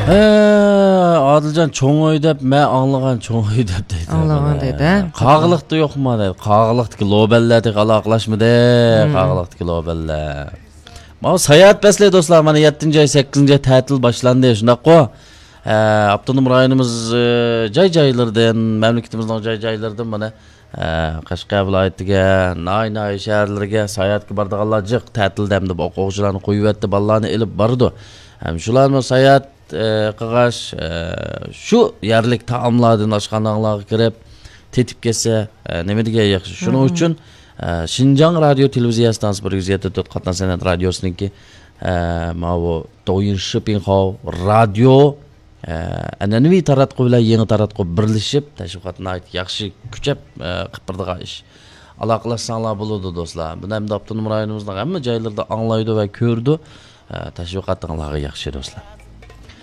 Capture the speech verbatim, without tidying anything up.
ھە، ئادىلجان، چوڭ ئۆي دەپ، مەن ئاڭلىغان چوڭ ئۆي دەپ دەيدۇ. ئاڭلىغان دەيدۇ، ھە؟ قاغىلىقتا يوقما دەيدۇ. قاغىلىقتىكى لوبەنلەر تېخى ئالاقىلاشمىدى. قاغىلىقتىكى لوبەنلەر. ماۋۇ ساياھەت پەسلى دوستلار، مانا يەتتىنچى ئاي، سەككىزىنچى ئاي تەتىل باشلاندى، شۇنداققۇ؟ ھە، ئاپتونوم رايونىمىز، ئە، جاي-جايلىرىدىن، مەملىكىتىمىزنىڭ جاي-جايلىرىدىن مانا، ئە، قەشقەر ۋىلايىتىگە، ناھىيە-ناھىيە شەھەرلىرىگە ساياھەتكە بارىدىغانلار جىق تەتىلدە ئەمدى ئوقۇغۇچىلارنى قويۇۋەتتى، بالىلارنى ئېلىپ بارىدۇ. ھەم شۇلارمۇ ساياھەت، ئە، قىلغاچ، ئە، شۇ يەرلىك تائاملاردىن ئاشخانىلارغا كىرىپ، تېتىپ كەتسە، ئە، نېمە دېگەن ياخشى. شۇنىڭ ئۈچۈن، ئە، شىنجاڭ رادىيو تېلېۋىزىيە ئىستانسىسى بىر يۈز يەتتە تۆت قاتناش سەنئەت رادىيوسىنىڭكى، ئە، ماۋۇ دويىن شىپىڭخاۋ رادىيو، ئە، ئەنئەنىۋى تاراتقۇ بىلەن يېڭى تاراتقۇ بىرلىشىپ، تەشۋىقاتنى ناھايىتى ياخشى كۈچەپ، ئە، قىلىپ بېرىدىغان ئىش. ئالاقىلەشسەڭلار بولىدۇ، دوستلار. بۇنى ئەمدى ئاپتونوم رايونىمىزنىڭ ھەممە جايلىرىدا ئاڭلايدۇ ۋە كۆرىدۇ. ئە، تەشۋىقاتىڭلارغا ياخشى، دوستلار.